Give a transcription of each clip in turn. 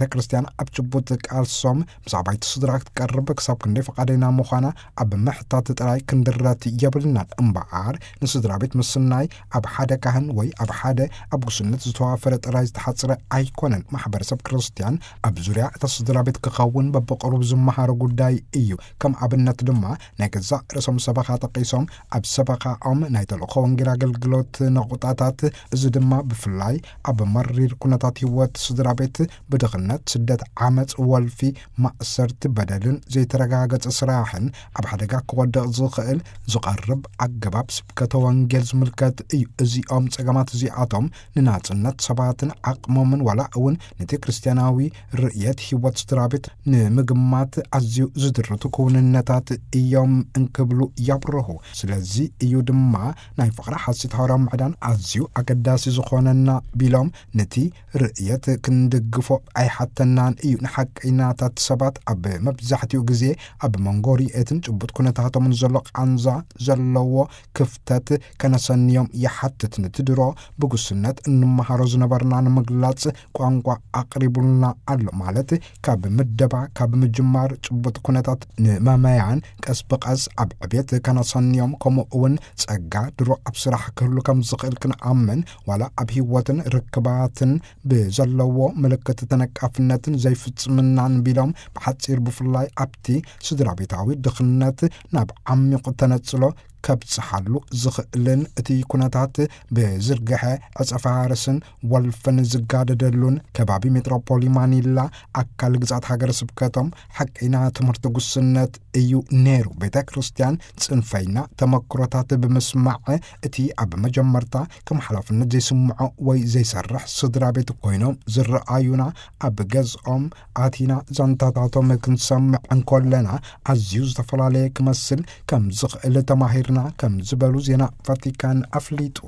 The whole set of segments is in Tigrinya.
ቤተ ክርስቲያን ኣብ ጭቡጥ ቃልሶም ምስ ኣባይቲ ስድራ ክትቀርብ ክሳብ ክንደይ ፈቓደና ምዃና ኣብ ምሕታት ጥራይ ክንድረት የብልናን። እምበኣር ንስድራ ቤት ምስናይ ኣብ ሓደ ካህን ወይ ኣብ ሓደ ኣብ ጉስነት ዝተዋፈረ ጥራይ ዝተሓጽረ ኣይኮነን። ማሕበረሰብ ክርስቲያን ኣብ ዙርያ እታ ስድራ ቤት ክኸውን በብቕሩብ ዝመሃሮ ጉዳይ እዩ። ከም ኣብነት ድማ ናይ ገዛእ ርእሶም ሰበኻ ጠቒሶም ኣብ ሰበኻኦም ናይ ተልእኾ ወንጌል ኣገልግሎት ነቑጣታት፣ እዚ ድማ ብፍላይ ኣብ መሪር ኩነታት ህይወት ስድራ ቤት ብድኽነት፣ ስደት፣ ዓመጽ፣ ወልፊ፣ ማእሰርቲ፣ በደልን ዘይተረጋገጸ ስራሕን ኣብ ሓደጋ ክወድቕ ዝኽእል ዝቐርብ ኣገባብ ስብከተ ወንጌል ዝምልከት እዩ። እዚኦም ጸገማት እዚኣቶም ንናጽነት ሰባትን ዓቕሞምን ዋላ እውን ነቲ ክርስትያናዊ ርእየት ህይወት ስድራ ቤት ንምግማት ኣዝዩ ዝድርቱ ክውንነታት እዮም እንክብሉ የብርሁ። ስለዚ እዩ ድማ ናይ ፍቕሪ ሓሲት ሃዋርያዊ ምዕዳን ኣዝዩ ኣገዳሲ ዝኾነና ቢሎም፣ ነቲ ርእየት ክንድግፎ ኣይሓተናን እዩ። ንሓቀይናታት ሰባት ኣብ መብዛሕትኡ ግዜ ኣብ መንጎ ርእየትን ጭቡጥ ኩነታቶምን ዘሎ ቃንዛ ዘለዎ ክፍተት ከነሰንዮም ይሓትት። ነቲ ድሮ ብጉስነት እንመሃሮ ዝነበርና ንምግላጽ ቋንቋ ኣቕሪቡልና ኣሎ። ማለት ካብ ምደባ፣ ካብ ምጅማር ጭቡጥ ኩነታት ንመመያን ቀስ ብቐስ ኣብ ዕቤት ከነሰንዮም፣ ከምኡ እውን ጸጋ ድሮ ኣብ ስራሕ ክህሉ ከም ዝኽእል ክንኣምን፣ ዋላ ኣብ ህይወትን ርክባትን ብዘለዎ ምልክት ተነቃፍነትን ዘይፍጽምናን ቢሎም፣ ብሓጺር ብፍላይ ኣብቲ ስድራ ቤታዊ ድኽነት ናብ ዓሚቑ ተነጽሎ ከብጽሓሉ ዝኽእልን እቲ ኩነታት ብዝርግሐ ዕጸ ፋርስን ወልፍን ዝጋደደሉን ከባቢ ሜትሮፖሊ ማኒላ ኣካል ግዛት ሃገረ ስብከቶም ሓቀይና ትምህርቲ ጉስነት እዩ ነይሩ። ቤተ ክርስቲያን ጽንፈይና ተመክሮታት ብምስማዕ እቲ ኣብ መጀመርታ ከም ሓላፍነት ዘይስምዖ ወይ ዘይሰርሕ ስድራ ቤት ኮይኖም ዝረኣዩና ኣብ ገዝኦም ኣቲና ዛንታታቶም ክንሰምዕ እንኮለና ኣዝዩ ዝተፈላለየ ክመስል ከም ዝኽእል ተማሂርና ከም ዝበሉ ዜና ቫቲካን ኣፍሊጡ።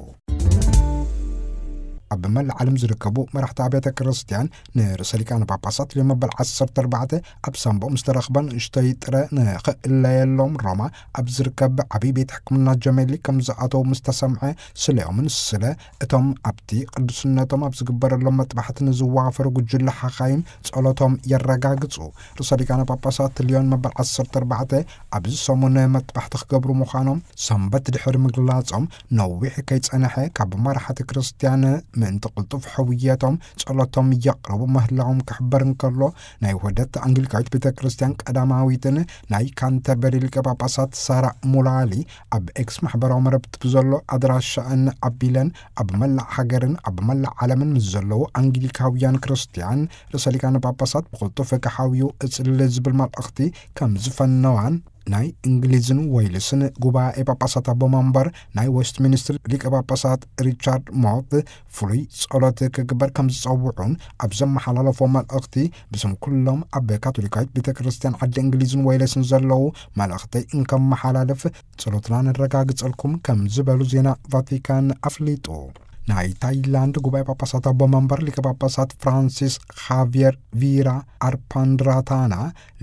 ኣብ መላእ ዓለም ዝርከቡ መራሕቲ ኣብያተ ክርስቲያን ንርእሰ ሊቃነ ጳጳሳት ሊዮ መበል ዓሰርተ ኣርባዕተ ኣብ ሳንቦ ምስ ተረኽበ ንእሽተይ ጥረ ንኽእለየሎም ሮማ ኣብ ዝርከብ ዓብዪ ቤት ሕክምና ጀሜሊ ከም ዝኣተው ምስ ተሰምዐ ስለዮምን ስለ እቶም ኣብቲ ቅዱስነቶም ኣብ ዝግበረሎም መጥባሕቲ ንዝዋፈሩ ጉጅለ ሓኻይም ጸሎቶም የረጋግጹ። ርእሰ ሊቃነ ጳጳሳት ሊዮን መበል ዓሰርተ ኣርባዕተ ኣብዚ ሰሙን መጥባሕቲ ክገብሩ ምዃኖም ሰንበት ድሕሪ ምግላጾም፣ ነዊሕ ከይጸንሐ ካብ መራሕቲ ክርስትያን ምእንቲ ቅልጡፍ ሕውየቶም ጸሎቶም የቕርቡ ምህላዎም ክሕበር እንከሎ፣ ናይ ውህደት ኣንግሊካዊት ቤተ ክርስትያን ቀዳማዊትን ናይ ካንተርበሪ ሊቀ ጳጳሳት ሳራ ሙላሊ ኣብ ኤክስ ማሕበራዊ መረብቲ ብዘሎ ኣድራሻኣን ኣቢለን ኣብ መላእ ሃገርን ኣብ መላእ ዓለምን ምስ ዘለዉ ኣንግሊካውያን ክርስትያን ርእሰ ሊቃነ ጳጳሳት ብቕልጡፍ ክሓውዩ እጽሊ ዝብል መልእኽቲ ከም ዝፈነዋን ናይ እንግሊዝን ዌልስን ጉባኤ ጳጳሳት ኣቦ መንበር ናይ ዌስትሚኒስትር ሊቀ ጳጳሳት ሪቻርድ ሞት ፍሉይ ጸሎት ክግበር ከም ዝጸውዑን ኣብ ዘመሓላለፎ መልእኽቲ ብስም ኩሎም ኣብ ካቶሊካዊት ቤተ ክርስቲያን ዓዲ እንግሊዝን ዌልስን ዘለዉ መልእኽተይ እንከመሓላልፍ ጸሎትና ነረጋግጸልኩም ከም ዝበሉ ዜና ቫቲካን ኣፍሊጡ። ናይ ታይላንድ ጉባኤ ጳጳሳት ኣቦ መንበር ሊቀ ጳጳሳት ፍራንሲስ ኻቪየር ቪራ ኣርፓንድራታና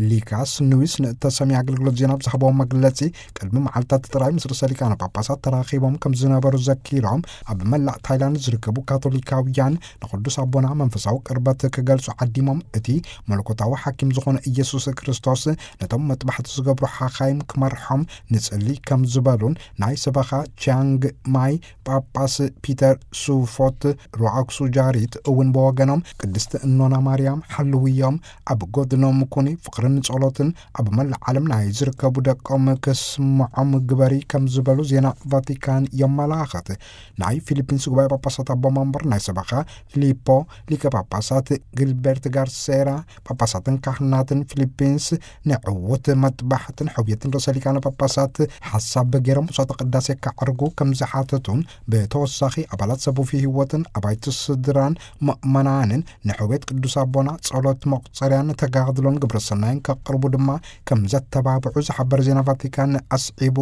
ሊካስ ኑዊስ ንእተሰምየ ኣገልግሎት ዜና ኣብ ዝሃብዎ መግለጺ፣ ቅድሚ መዓልታት ጥራይ ምስ ርእሰ ሊቃነ ጳጳሳት ተራኺቦም ከም ዝነበሩ ዘኪሮም፣ ኣብ መላእ ታይላንድ ዝርከቡ ካቶሊካውያን ንቅዱስ ኣቦና መንፈሳዊ ቅርበት ክገልጹ ዓዲሞም፣ እቲ መለኮታዊ ሓኪም ዝኾነ ኢየሱስ ክርስቶስ ነቶም መጥባሕቲ ዝገብሩ ሓኻይም ክመርሖም ንጽሊ ከም ዝበሉን፣ ናይ ሰበኻ ቺያንግ ማይ ጳጳስ ፒተር ሱፎት ሩኣክሱ ጃሪት እውን ብወገኖም፣ ቅድስቲ እኖና ማርያም ሓልውዮም፣ ኣብ ጎድኖም ኩኒ፣ ፍቕርን ጸሎትን ኣብ መላእ ዓለም ናይ ዝርከቡ ደቆም ክስምዖም ግበሪ ከም ዝበሉ ዜና ቫቲካን የመላኽት። ናይ ፊሊፒንስ ጉባኤ ጳጳሳት ኣቦ መንበር ናይ ሰበኻ ፊሊፖ ሊቀ ጳጳሳት ጊልበርት ጋርሴራ ጳጳሳትን ካህናትን ፊሊፒንስ ንዕውት መጥባሕትን ሕውየትን ርእሰ ሊቃነ ጳጳሳት ሓሳብ ገይሮም መስዋዕተ ቅዳሴ ከዕርጉ ከም ዝሓተቱን፣ ብተወሳኺ ኣባላት ሰቡፊ ህይወትን ኣባይቲ ስድራን ምእመናንን ንሕውየት ቅዱስ ኣቦና ጸሎት መቁጸርያን ተጋድሎን ግብረ ሰናይን ከቕርቡ ድማ ከም ዘተባብዑ ዝሓበር ዜና ቫቲካን ኣስዒቡ፣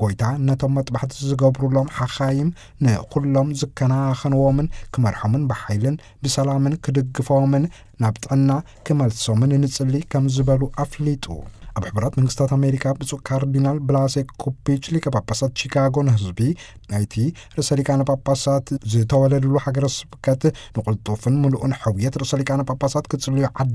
ጎይታ ነቶም መጥባሕቲ ዝገብሩሎም ሓኻይም ንኹሎም ዝከናኸንዎምን ክመርሖምን ብሓይልን ብሰላምን ክድግፎምን ናብ ጥዕና ክመልሶምን ንጽሊ ከም ዝበሉ ኣፍሊጡ። ኣብ ሕቡራት መንግስታት ኣሜሪካ ብፁዕ ካርዲናል ብላሴ ኮፒች ሊቀ ጳጳሳት ቺካጎ ንህዝቢ ናይቲ ርእሰ ሊቃነ ጳጳሳት ዝተወለድሉ ሃገረ ስብከት ንቕልጡፍን ምሉእን ሕውየት ርእሰ ሊቃነ ጳጳሳት ክጽልዩ ዓዲ